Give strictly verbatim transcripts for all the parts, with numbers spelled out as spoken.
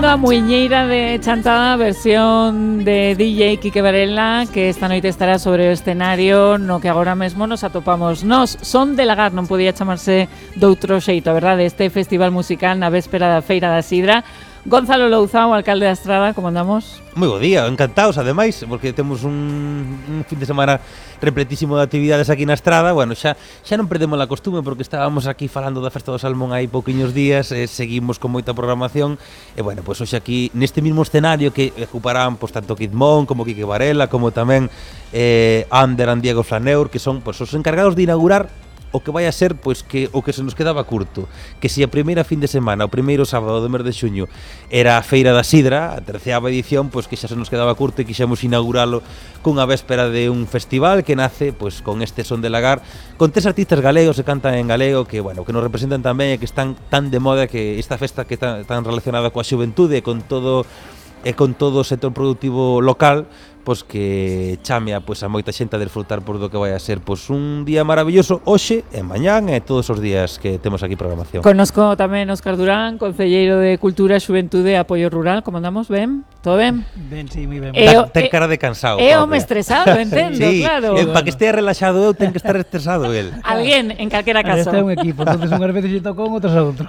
A muiñeira de Chantada, versión de D J Quique Varela, que esta noite estará sobre o escenario no que agora mesmo nos atopamos nós. Son de Lagar, non podía chamarse doutro xeito, a verdade, este festival musical na véspera da Feira da Sidra. Gonzalo Louzao, alcalde da Estrada, como andamos? Moi bo día, encantados, ademais, porque temos un, un fin de semana repletísimo de actividades aquí na Estrada. Bueno, xa, xa non perdemos a costume, porque estábamos aquí falando da Festa do Salmón hai pouquiños días, e seguimos con moita programación, e bueno, pois hoxe aquí, neste mismo escenario que ocuparán pois, tanto Kid Mon, como Quique Varela, como tamén eh, Ander e Diego Flaneur, que son pois, os encargados de inaugurar o que vai a ser, pois, que o que se nos quedaba curto, que se a primeira fin de semana, o primeiro sábado do mes de xuño, era a Feira da Sidra, a terceava edición, pois que xa se nos quedaba curto e quixemos inauguralo cunha véspera de un festival que nace, pois, con este Son de Lagar, con tres artistas galegos que cantan en galego, que, bueno, que nos representan tamén e que están tan de moda, que esta festa que está tan relacionada coa xuventude e con todo e con todo o sector productivo local, pois que chame a, pois, a moita xente a desfrutar por do que vai a ser pois, un día maravilloso hoxe e mañán e todos os días que temos aquí programación. Conozco tamén Óscar Durán, concelleiro de Cultura, Xuventude e Apoio Rural. Como andamos? Ben? Todo ben? Ben, sí, moi ben. Da, ten cara de cansado. É home estresado, entendo, sí, claro. Sí, para que estea relaxado eu, ten que estar estresado el. Alguén, en calquera caso. Este é un equipo, entonces unhas veces lle tocou, outras a outro.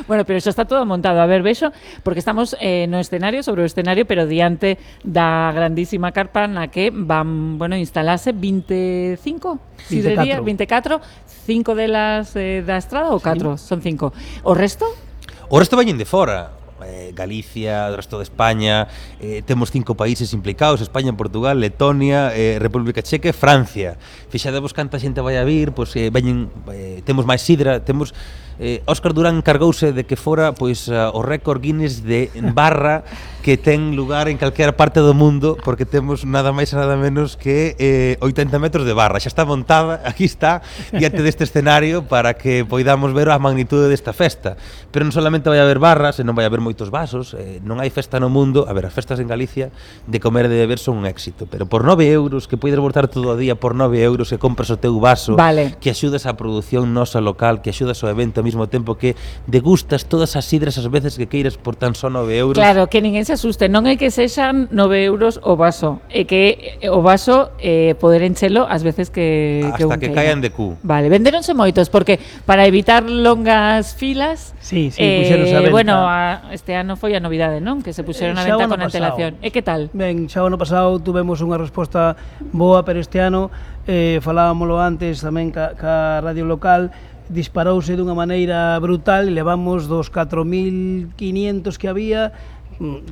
Bueno, pero xa está todo montado. A ver, vexo, porque estamos eh, no escenario, sobre o escenario, pero diante da grandísima carpa na que van, bueno, instalarse veinticinco sidrerías, veinticuatro, cinco delas eh, da Estrada ou catro? Sí. Son cinco. O resto? O resto veñen de fora. Eh, Galicia, o resto de España, eh, temos cinco países implicados: España, Portugal, Letonia, eh, República Checa e Francia. Fixadevos canta xente vai a vir, pois eh, veñen, eh, temos máis sidra, temos eh, Óscar Durán encargouse de que fora pois uh, o récord Guinness de barra que ten lugar en calquera parte do mundo, porque temos nada máis e nada menos que eh, oitenta metros de barra. Xa está montada, aquí está, diante deste escenario, para que poidamos ver a magnitude desta festa. Pero non solamente vai haber barras, senón vai haber moitos vasos. Eh, non hai festa no mundo, a ver, as festas en Galicia de comer e de beber son un éxito, pero por nove euros, que podes botar todo o día por nove euros, que compras o teu vaso, vale, que axudas á produción nosa local, que axudas ao evento ao mesmo tempo que degustas todas as sidras as veces que queiras por tan só nove euros. Claro, que ninguén se asuste, non é que sexan nove euros o vaso, é que o vaso eh, poder enchelo as veces que hasta que, que caian de cu. Vale, venderonse moitos, porque para evitar longas filas, sí, sí, eh, puxeronse a venta. Bueno, a, este ano foi a novidade, non? Que se puxeron a venta con antelación. E que tal? Ben, xa o ano pasado tuvemos unha resposta boa, pero este ano eh, falábamoslo antes tamén ca, ca radio local, disparouse dunha maneira brutal e levamos dos catro mil quinientos que había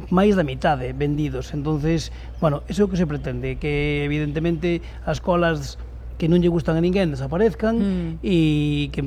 máis da mitade vendidos. Entonces, bueno, eso é o que se pretende, que evidentemente as colas que non lle gustan a ninguén desaparezcan e mm. que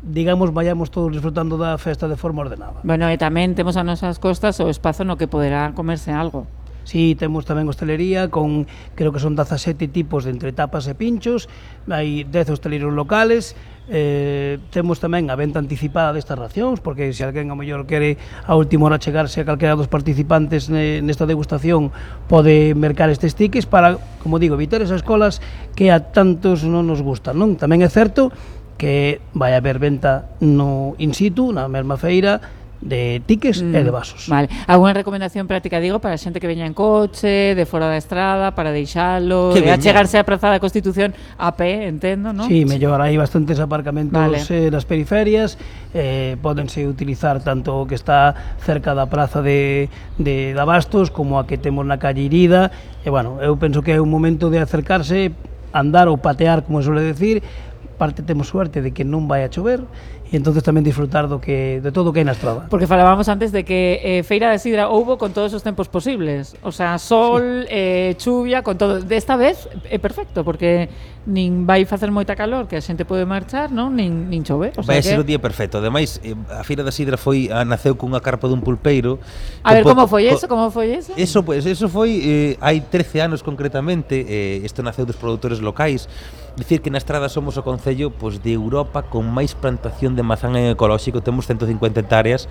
digamos, vayamos todos disfrutando da festa de forma ordenada. Bueno, e tamén temos a nosas costas o espazo no que poderá comerse algo. Sí, temos tamén hostelería con, creo que son dezasete tipos de entre tapas e pinchos, hai dez hosteleiros locales, eh, temos tamén a venta anticipada destas racións, porque se alguén a mellor quere a última hora chegarse a calquera dos participantes nesta degustación, pode mercar estes tickets para, como digo, evitar esas colas que a tantos non nos gustan, non? Tamén é certo que vai haber venta no in situ, na mesma feira, de tickets mm, e de vasos. Vale. Alguna recomendación práctica, digo, para a xente que veña en coche, de fora da estrada, para deixalo, de achegarse á Praza da Constitución a pé, entendo, non? Sí, mellor, hai bastantes aparcamentos vale. eh, nas periferias, eh, pódense utilizar tanto o que está cerca da Praza de, de, de Abastos como a que temos na calle Irida, e, bueno, eu penso que é un momento de acercarse, andar ou patear, como suele decir. Parte temos suerte de que non vai a chover e entonces tamén disfrutar do que de todo o que hai na estrada. Porque falábamos antes de que eh, Feira da Sidra houbo con todos os tempos posibles, o sea, sol, sí. eh, chuvia, con todo. Desta vez é perfecto, porque nin vai facer moita calor, que a xente pode marchar, non? Nin, nin chove. O sea, vai a que... ser o día perfecto. Ademais, a Feira da Sidra foi a, naceu cunha carpa dun pulpeiro. A ver, como foi eso? Como foi eso? Eso, pues, eso foi eh, hai trece anos concretamente. Eh, isto naceu dos produtores locais. Dicir que na Estrada somos o concello pois, de Europa con máis plantación de mazán en ecolóxico, temos ciento cincuenta hectáreas,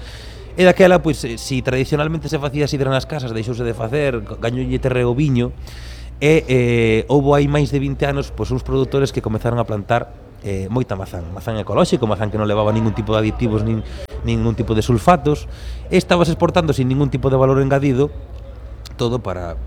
e daquela, pois, si tradicionalmente se facía sidra nas casas, deixouse de facer, gañoulle terreo viño, e eh, houbo hai máis de vinte anos pois, uns produtores que comezaron a plantar eh, moita mazán, mazán ecolóxico, mazán que non levaba ningún tipo de aditivos nin, ningún tipo de sulfatos, e estabas exportando sin ningún tipo de valor engadido, todo para,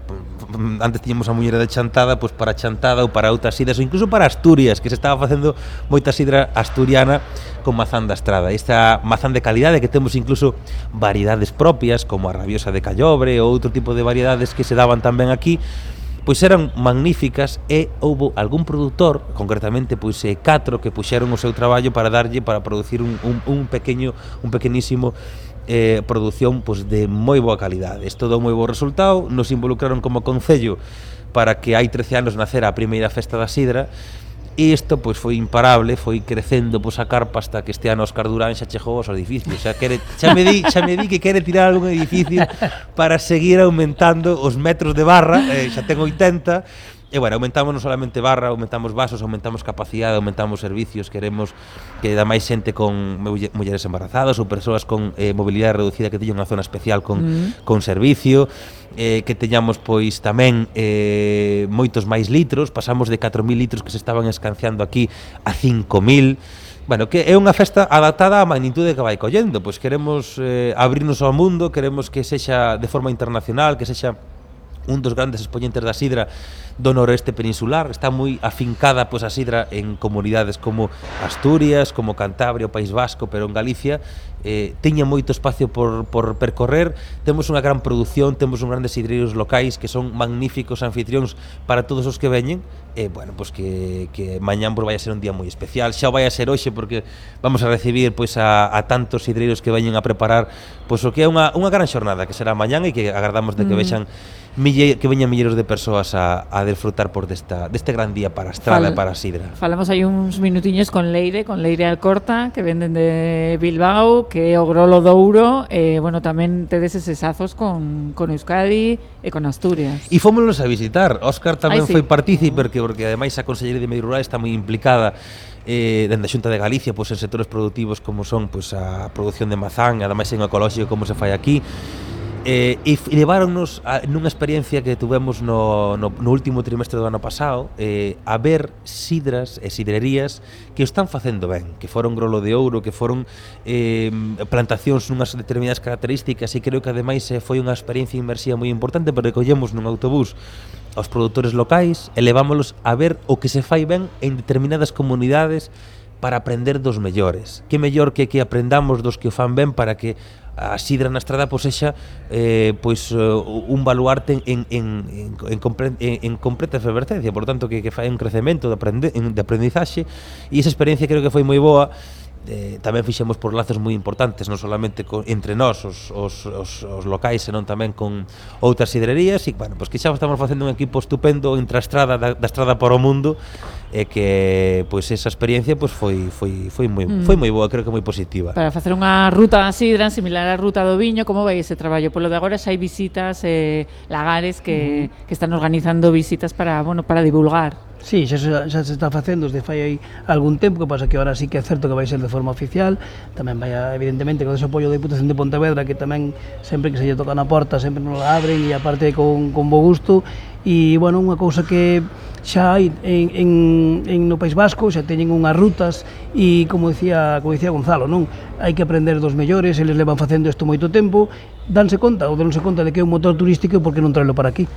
antes tiñamos a muñeira de Chantada, pois para Chantada ou para outras sidras, ou incluso para Asturias, que se estaba facendo moita sidra asturiana con mazán da Estrada. Esta mazán de calidade que temos incluso variedades propias, como a rabiosa de Callobre ou outro tipo de variedades que se daban tamén aquí, pois eran magníficas, e houbo algún produtor, concretamente pois eh, catro, que puxeron o seu traballo para darlle, para producir un, un, un pequeño, un pequenísimo eh, produción pois, de moi boa calidade. Isto dou moi bo resultado, nos involucraron como concello para que hai trece anos nacera a primeira festa da sidra, e isto pois foi imparable, foi crecendo pois a carpa hasta que este ano Óscar Durán xa chegou aos edificios, xa quere, xa me di, xa me di que quere tirar algún edificio para seguir aumentando os metros de barra, eh, xa ten oitenta. E, bueno, aumentamos non solamente barra, aumentamos vasos, aumentamos capacidade, aumentamos servicios, queremos que da máis xente con mulleres embarazadas ou persoas con eh, mobilidade reducida que teñan unha zona especial con, mm. con servicio, eh, que teñamos, pois, tamén eh, moitos máis litros, pasamos de catro mil litros que se estaban escanciando aquí a cinco mil. Bueno, que é unha festa adaptada á magnitude que vai collendo, pois queremos eh, abrirnos ao mundo, queremos que sexa de forma internacional, que sexa un dos grandes expoñentes da sidra do noroeste peninsular. Está moi afincada pois a sidra en comunidades como Asturias, como Cantabria, o País Vasco, pero en Galicia eh, teña moito espacio por, por percorrer. Temos unha gran produción, temos un grandes sidreiros locais que son magníficos anfitrións para todos os que veñen. E, bueno, pois que, que mañán pois vai a ser un día moi especial, xa vai a ser hoxe, porque vamos a recibir pois a, a tantos sidreiros que veñen a preparar pois o que é unha, unha gran xornada que será mañán, e que agardamos de que mm. vexan mille, que veñan milleiros de persoas a, a disfrutar por desta, deste gran día para a Estrada e para a sidra. Falamos aí uns minutiños con Leire, con Leire Alcorta, que venden de Bilbao, que é o Grolo Douro, e, bueno, tamén tedes eses azos con, con Euskadi e con Asturias. E fómonos a visitar. Óscar tamén Ai, sí. foi partícipe, porque, porque ademais a Consellería de Medio Rural está moi implicada eh, dende a Xunta de Galicia pois, en sectores productivos como son pois, a produción de mazán, ademais en ecolóxico como se fai aquí. Eh, e leváronnos a, nunha experiencia que tuvemos no, no, no último trimestre do ano pasado, eh, a ver sidras e sidrerías que o están facendo ben, que foron Grolo de Ouro, que foron eh, plantacións nunhas determinadas características, e creo que ademais eh, foi unha experiencia inmersiva moi importante, porque collemos nun autobús aos produtores locais e levámolos a ver o que se fai ben en determinadas comunidades para aprender dos mellores. Que mellor que que aprendamos dos que o fan ben para que a sidra na Estrada pois sexa eh, pois uh, un baluarte en, en, en, en, compre, en, en completa efervescencia, por tanto que, que fai un crecemento de, aprende, de aprendizaxe, e esa experiencia creo que foi moi boa. Eh, tamén fixemos por lazos moi importantes, non solamente con, entre nós os, os, os, os locais, senón tamén con outras sidrerías, e, bueno, pois que xa estamos facendo un equipo estupendo entre a Estrada, da, da Estrada para o mundo, e que, pois, esa experiencia pois, foi, foi, foi, moi, mm. foi moi boa, creo que moi positiva. Para facer unha ruta da sidra similar á ruta do viño, como vai ese traballo? Polo de agora xa hai visitas, eh, lagares que, mm. que están organizando visitas para, bueno, para divulgar. Sí, xa, xa se está facendo desde fai aí algún tempo, que pasa que ahora sí que é certo que vai ser de forma oficial. Tamén vai, evidentemente, con ese apoio da Diputación de Pontevedra, que tamén sempre que se lle toca na porta sempre nos la abren, e aparte con, con bo gusto. E, bueno, unha cousa que xa hai en, en, en no País Vasco, xa teñen unhas rutas, e como dicía, como dicía Gonzalo, non? Hai que aprender dos mellores, eles levan facendo isto moito tempo, danse conta ou dense conta de que é un motor turístico, e por que non traelo para aquí?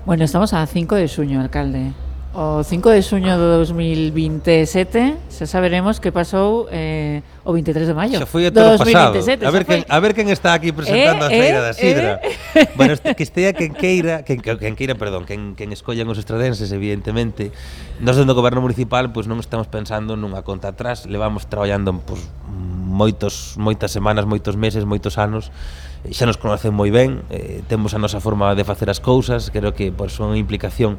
Bueno, estamos a cinco de xuño, alcalde. O cinco de xuño do dos mil vinte e sete xa saberemos que pasou eh, o veintitrés de maio. Xa foi o ano pasado. A ver, quen, a ver quen está aquí presentando eh, a Feira eh, da Sidra. Eh. Bueno, este, que estea quen queira, quen, quen queira, perdón, quen, quen escollan os estradenses, evidentemente. Nós dentro do goberno municipal, pois non estamos pensando nunha conta atrás, levamos traballando pois, moitos, moitas semanas, moitos meses, moitos anos. Xa nos conocen moi ben, eh, temos a nosa forma de facer as cousas, creo que por son implicación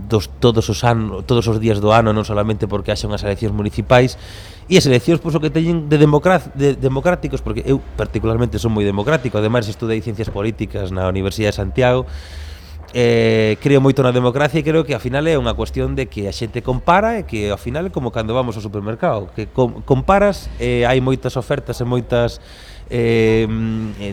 dos todos os anos, todos os días do ano, non solamente porque haxa unhas eleccións municipais, e as eleccións pois o que teñen de, de democráticos, porque eu particularmente son moi democrático, ademais estudei ciencias políticas na Universidade de Santiago, eh, creo moito na democracia, e creo que ao final é unha cuestión de que a xente compara, e que ao final é como cando vamos ao supermercado, que com, comparas, e eh, hai moitas ofertas e moitas Eh,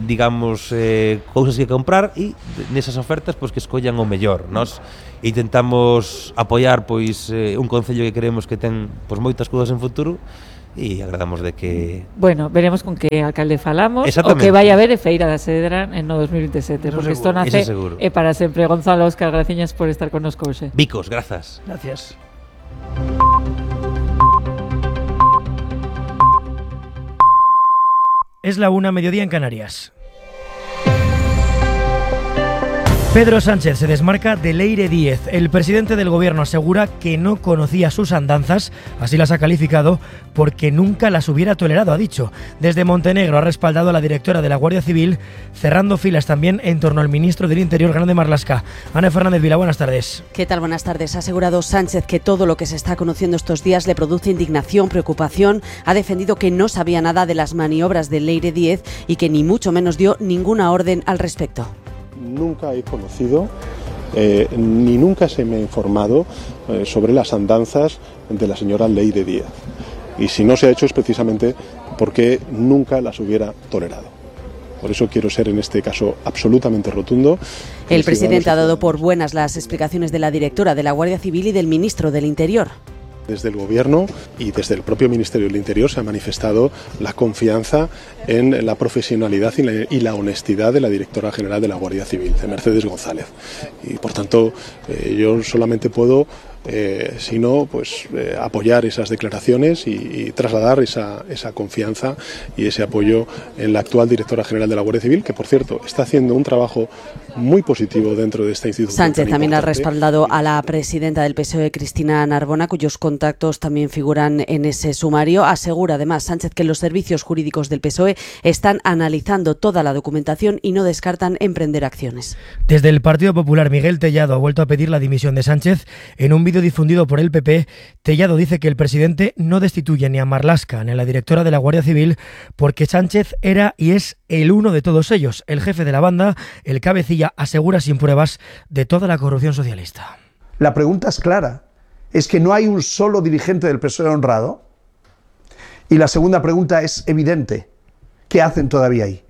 digamos eh, cousas que comprar, e nesas ofertas pois que escollan o mellor. Nós intentamos apoiar pois eh, un concello que creemos que ten pois moitas cousas en futuro, e agradamos de que... Bueno, veremos con que alcalde falamos o que vai a haber Feira da Cedra en no dos mil veintisiete, Eso porque isto seguro. nace Eso e para sempre. Gonzalo, Óscar, graciñas por estar connosco hoxe. Vicos, grazas. Gracias. Es la una, mediodía en Canarias. Pedro Sánchez se desmarca de Leire Díez. El presidente del gobierno asegura que no conocía sus andanzas, así las ha calificado, porque nunca las hubiera tolerado, ha dicho. Desde Montenegro ha respaldado a la directora de la Guardia Civil, cerrando filas también en torno al ministro del Interior, Grande Marlaska. Ana Fernández Vila, buenas tardes. ¿Qué tal? Buenas tardes. Ha asegurado Sánchez que todo lo que se está conociendo estos días le produce indignación, preocupación. Ha defendido que no sabía nada de las maniobras de Leire Díez y que ni mucho menos dio ninguna orden al respecto. Nunca he conocido, eh, ni nunca se me ha informado eh, sobre las andanzas de la señora Leire Díez. Y si no se ha hecho es precisamente porque nunca las hubiera tolerado. Por eso quiero ser en este caso absolutamente rotundo. El presidente ha dado por buenas las explicaciones de la directora de la Guardia Civil y del ministro del Interior. Desde el Gobierno y desde el propio Ministerio del Interior se ha manifestado la confianza en la profesionalidad y la, y la honestidad de la directora general de la Guardia Civil, de Mercedes González. Y por tanto, eh, yo solamente puedo, eh, si no, pues eh, apoyar esas declaraciones y, y trasladar esa, esa confianza y ese apoyo en la actual directora general de la Guardia Civil, que por cierto está haciendo un trabajo muy positivo dentro de esta institución. Sánchez también ha respaldado a la presidenta del P S O E, Cristina Narbona, cuyos contactos también figuran en ese sumario. Asegura además Sánchez que los servicios jurídicos del P S O E están analizando toda la documentación y no descartan emprender acciones. Desde el Partido Popular, Miguel Tellado ha vuelto a pedir la dimisión de Sánchez. En un vídeo difundido por el P P, Tellado dice que el presidente no destituye ni a Marlaska ni a la directora de la Guardia Civil porque Sánchez era y es el uno de todos ellos. El jefe de la banda, el cabecilla, asegura sin pruebas de toda la corrupción socialista. La pregunta es clara. ¿Es que no hay un solo dirigente del P S O E honrado? Y la segunda pregunta es evidente. ¿Qué hacen todavía ahí?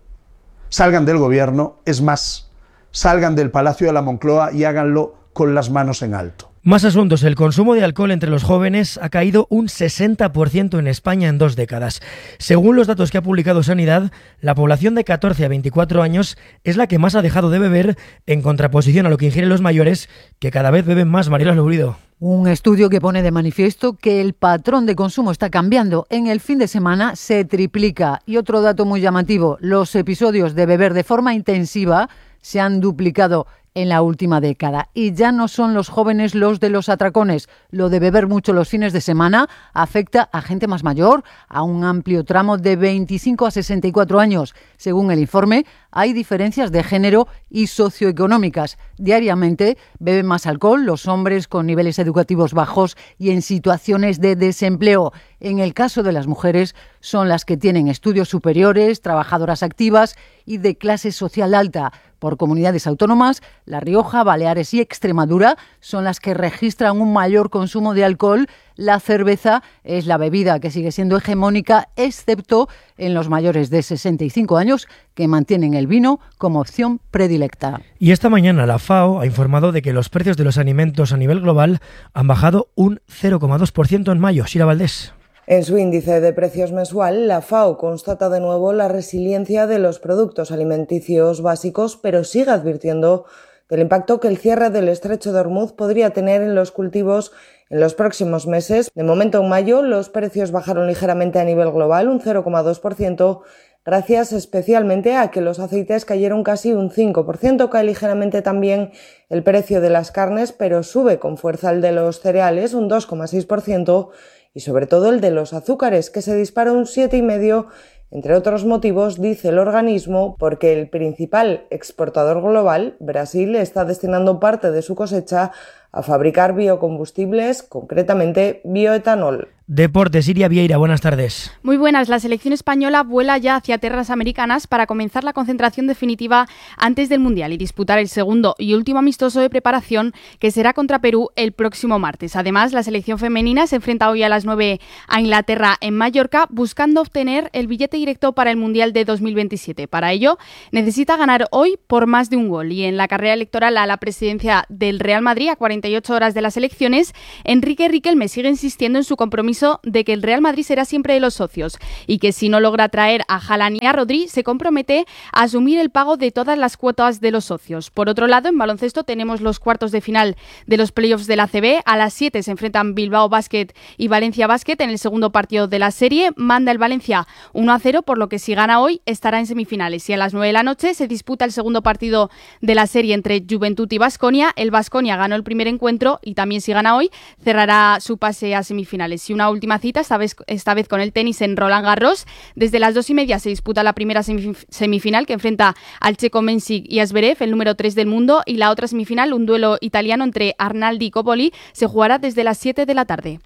Salgan del gobierno, es más, salgan del Palacio de la Moncloa y háganlo con las manos en alto. Más asuntos. El consumo de alcohol entre los jóvenes ha caído un sesenta por ciento en España en dos décadas. Según los datos que ha publicado Sanidad, la población de catorce a veinticuatro años es la que más ha dejado de beber, en contraposición a lo que ingieren los mayores, que cada vez beben más. Mariela Lourido. Un estudio que pone de manifiesto que el patrón de consumo está cambiando. En el fin de semana se triplica. Y otro dato muy llamativo, los episodios de beber de forma intensiva se han duplicado en la última década. Y ya no son los jóvenes los de los atracones. Lo de beber mucho los fines de semana afecta a gente más mayor, a un amplio tramo de veinticinco a sesenta y cuatro años. Según el informe, hay diferencias de género y socioeconómicas. Diariamente beben más alcohol los hombres con niveles educativos bajos y en situaciones de desempleo. En el caso de las mujeres, son las que tienen estudios superiores, trabajadoras activas y de clase social alta. Por comunidades autónomas, La Rioja, Baleares y Extremadura son las que registran un mayor consumo de alcohol. La cerveza es la bebida que sigue siendo hegemónica, excepto en los mayores de sesenta y cinco años, que mantienen el vino como opción predilecta. Y esta mañana la FAO ha informado de que los precios de los alimentos a nivel global han bajado un cero coma dos por ciento en mayo. Sira Valdés. En su índice de precios mensual, la FAO constata de nuevo la resiliencia de los productos alimenticios básicos, pero sigue advirtiendo del impacto que el cierre del estrecho de Hormuz podría tener en los cultivos en los próximos meses. De momento, en mayo, los precios bajaron ligeramente a nivel global, un cero coma dos por ciento, gracias especialmente a que los aceites cayeron casi un cinco por ciento. Cae ligeramente también el precio de las carnes, pero sube con fuerza el de los cereales, un dos coma seis por ciento, y sobre todo el de los azúcares, que se dispara un siete coma cinco por ciento, entre otros motivos, dice el organismo, porque el principal exportador global, Brasil, está destinando parte de su cosecha a fabricar biocombustibles, concretamente bioetanol. Deportes, Iria Vieira, buenas tardes. Muy buenas. La selección española vuela ya hacia tierras americanas para comenzar la concentración definitiva antes del Mundial y disputar el segundo y último amistoso de preparación, que será contra Perú el próximo martes. Además, la selección femenina se enfrenta hoy a las nueve a Inglaterra en Mallorca, buscando obtener el billete directo para el Mundial de dos mil veintisiete. Para ello, necesita ganar hoy por más de un gol. Y en la carrera electoral a la presidencia del Real Madrid, a cuarenta cuarenta y ocho horas de las elecciones, Enrique Riquelme sigue insistiendo en su compromiso de que el Real Madrid será siempre de los socios y que si no logra traer a Haaland y a Rodri, se compromete a asumir el pago de todas las cuotas de los socios. Por otro lado, en baloncesto tenemos los cuartos de final de los playoffs de la A C B. A las siete se enfrentan Bilbao Basket y Valencia Basket en el segundo partido de la serie. Manda el Valencia uno a cero, por lo que si gana hoy estará en semifinales. Y a las nueve de la noche se disputa el segundo partido de la serie entre Juventud y Baskonia. El Baskonia ganó el primer encuentro y también si gana hoy cerrará su pase a semifinales. Y una última cita, esta vez, esta vez con el tenis en Roland Garros. Desde las dos y media se disputa la primera semif- semifinal que enfrenta al checo Mensik y a Zverev, el número tres del mundo, y la otra semifinal, un duelo italiano entre Arnaldi y Coppoli, se jugará desde las siete de la tarde.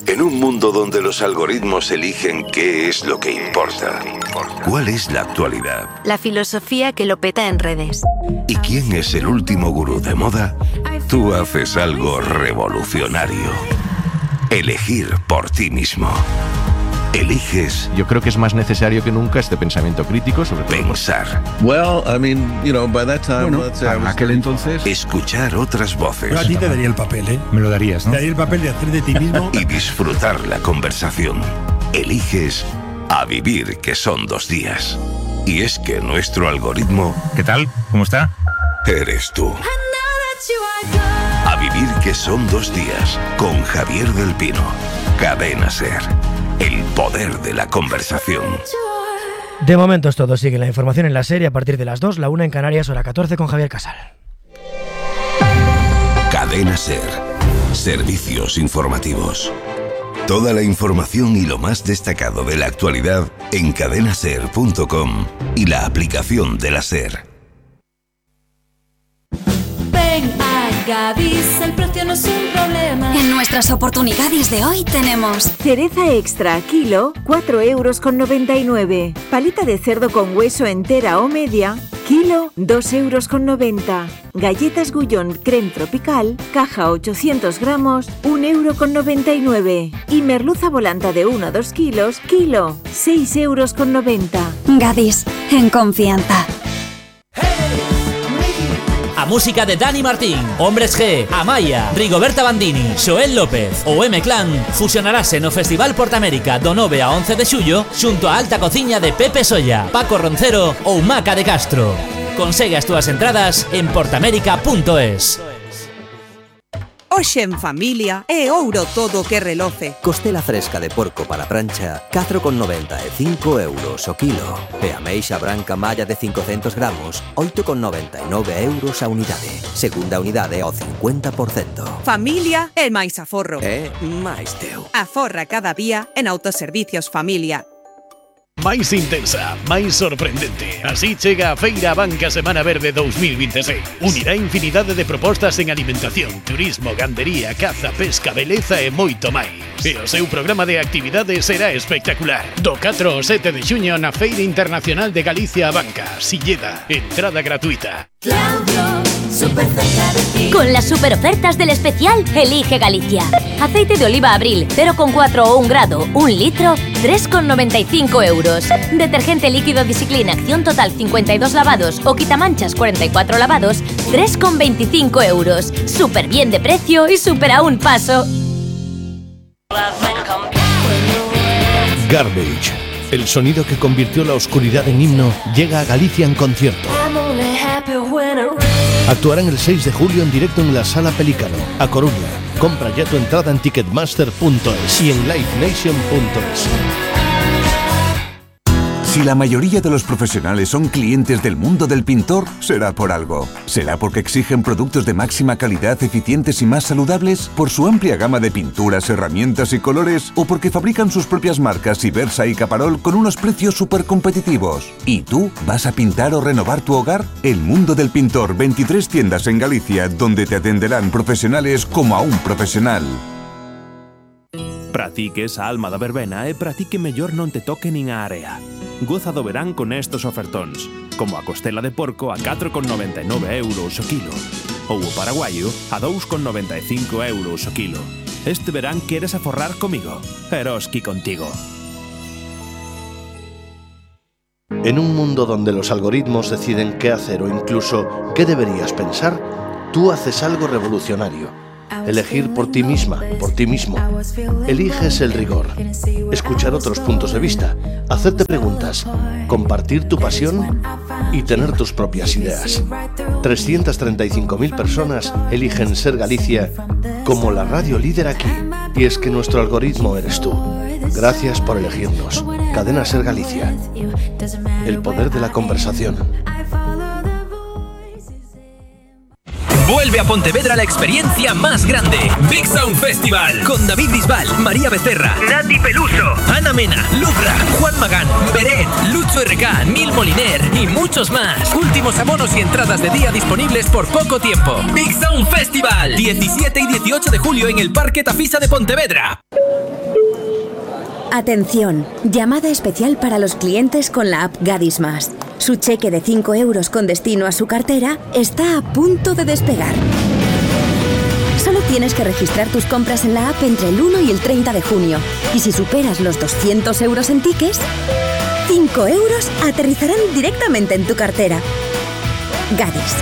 En un mundo donde los algoritmos eligen qué es lo que importa, ¿cuál es la actualidad? La filosofía que lo peta en redes. ¿Y quién es el último gurú de moda? Tú haces algo revolucionario. Elegir por ti mismo. Eliges. Yo creo que es más necesario que nunca este pensamiento crítico sobre todo. Pensar. Well, I mean, you know, by that time, bueno, let's say I en was aquel entonces. Escuchar otras voces. Yo a ti te daría el papel, ¿eh? Me lo darías, ¿no? Te daría el papel de hacer de ti mismo. Y disfrutar la conversación. Eliges a vivir, que son dos días. Y es que nuestro algoritmo. ¿Qué tal? ¿Cómo está? Eres tú. A vivir, que son dos días. Con Javier del Pino. Cadena SER. El poder de la conversación. De momento es todo. Sigue la información en la serie a partir de las dos, la una en Canarias, hora catorce con Javier Casal. Cadena SER. Servicios informativos. Toda la información y lo más destacado de la actualidad en cadena ser punto com y la aplicación de la SER. Ven a Gadis, el precio no es un problema. En nuestras oportunidades de hoy tenemos cereza extra kilo, cuatro euros con noventa y nueve. Paleta de cerdo con hueso entera o media, kilo, dos euros con noventa. Galletas Gullón creme tropical, caja ochocientos gramos, un euro con noventa y nueve. Y merluza volanta de uno a dos kilos, kilo, seis euros con noventa. Gadis, en confianza. A música de Dani Martín, Hombres G, Amaya, Rigoberta Bandini, Xoel López ou M-Clan fusionarase no Festival Portamérica do nove a once de xullo xunto a alta cociña de Pepe Solla, Paco Roncero ou Maca de Castro. Consegue as túas entradas en portamérica punto es. Hoxe en familia é ouro todo que reloce. Costela fresca de porco para prancha, catro con noventa e cinco euros o kilo. E ameixa branca malla de cincocentos gramos, oito con noventa e nove euros a unidade. Segunda unidade ao cincuenta por cento. Familia é máis aforro. É máis teu. Aforra cada día en Autoservicios Familia. Máis intensa, máis sorprendente. Así chega a Feira Banca Semana Verde dos mil veintiséis. Unirá infinidade de propostas en alimentación, turismo, gandería, caza, pesca, beleza e moito máis. E o seu programa de actividades será espectacular. Do catro ao sete de xuño na Feira Internacional de Galicia a Banca, Silleda, entrada gratuita. Claudio, super cerca de ti. Con las super ofertas del especial Elige Galicia. Aceite de oliva Abril cero coma cuatro o un grado, un litro, tres con noventa y cinco euros. Detergente líquido Discipline Acción Total cincuenta y dos lavados o quitamanchas cuarenta y cuatro lavados, tres con veinticinco euros. Súper bien de precio y súper a un paso. Garbage, el sonido que convirtió la oscuridad en himno, llega a Galicia en concierto. Actuarán el seis de julio en directo en la Sala Pelícano, a Coruña. Compra ya tu entrada en ticketmaster punto es y en live nation punto es. Si la mayoría de los profesionales son clientes del mundo del pintor, será por algo. ¿Será porque exigen productos de máxima calidad, eficientes y más saludables? ¿Por su amplia gama de pinturas, herramientas y colores? ¿O porque fabrican sus propias marcas Ibersa y Caparol con unos precios súper competitivos? ¿Y tú vas a pintar o renovar tu hogar? El mundo del pintor, veintitrés tiendas en Galicia, donde te atenderán profesionales como a un profesional. Pratique esa alma da verbena e pratique mellor non te toque nin a area. Goza do verán con estos ofertóns, como a costela de porco a catro con noventa e nove euros o kilo, ou o paraguaio a dous con noventa e cinco euros o kilo. Este verán queres aforrar comigo, Eroski contigo. En un mundo donde los algoritmos deciden qué hacer o incluso qué deberías pensar, Tú haces algo revolucionario. Elegir por ti misma, por ti mismo. Eliges el rigor. Escuchar otros puntos de vista. Hacerte preguntas. Compartir tu pasión y tener tus propias ideas. trescientas treinta y cinco mil personas eligen Ser Galicia como la radio líder aquí. Y es que nuestro algoritmo eres tú. Gracias por elegirnos. Cadena Ser Galicia. El poder de la conversación. Vuelve a Pontevedra la experiencia más grande. Big Sound Festival. Con David Bisbal, María Becerra, Nati Peluso, Ana Mena, Lubra, Juan Magán, Beret, Lucho R K, Neil Moliner y muchos más. Últimos abonos y entradas de día disponibles por poco tiempo. Big Sound Festival. diecisiete y dieciocho de julio en el Parque Tafisa de Pontevedra. Atención, llamada especial para los clientes con la app Gadis Más. Su cheque de cinco euros con destino a su cartera está a punto de despegar. Solo tienes que registrar tus compras en la app entre el uno y el treinta de junio. Y si superas los doscientos euros en tickets, cinco euros aterrizarán directamente en tu cartera. Gadis,